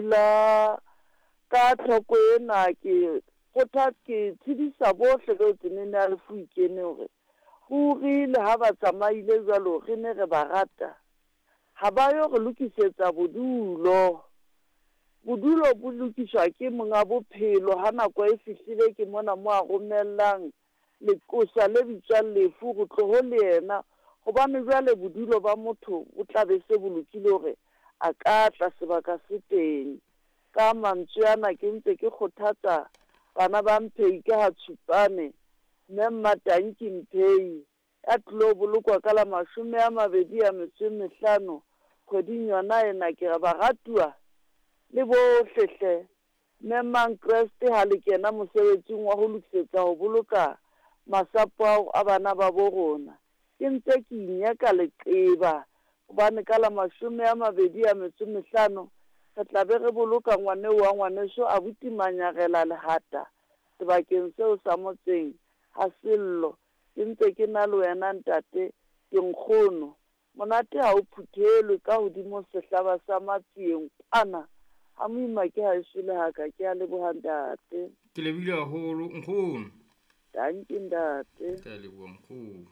Pula. Ka tlhoko ena ke kgotha ke tshedisa bohle beo tsenene ya lefu e kene hore ruri le ha ba tsamaile jwalo re ne re ba rata. Ha ba yo re lokisetsa bodulo. Bodulo bo lokiswa ke monga bophelo ha nako e fihlile ke mona mo a romellang leqosa le bitswang lefu ho tloho le yena. Hobane jwale bodulo ba motho bo tla be se bo lokile hore a ka tla sebaka se teng. Ka mantswe ana ke ntse ke kgothatsa bana ba Mphei ka ha Tshupane, mme Mmatanki Mphei ya tlilo bolokwa ka la 25 kgweding yona ena. Ke re baratuwa le bohle hle, memang Kreste ha le kena mosebetsing wa ho lokisetsa ho boloka masapo ao a bana ba bo rona. Ke ntse ke inyeka leqeba hobane ka la 25 re tla be re boloka ngwaneo wa ngwaneso abuti Manyarela Lehata sebakeng seo sa motseng ha Sello. Ke ntse ke na le wena ntate, ke nkgono. Monate ha o phuthelwe ka hodimo sehlaba sa Matsieng kwana. Ha moima ke haeso le haka, ke a leboha ntate. Ke lebohile haholo nkgono. Dankie ntate. Ke a leboha nkgono.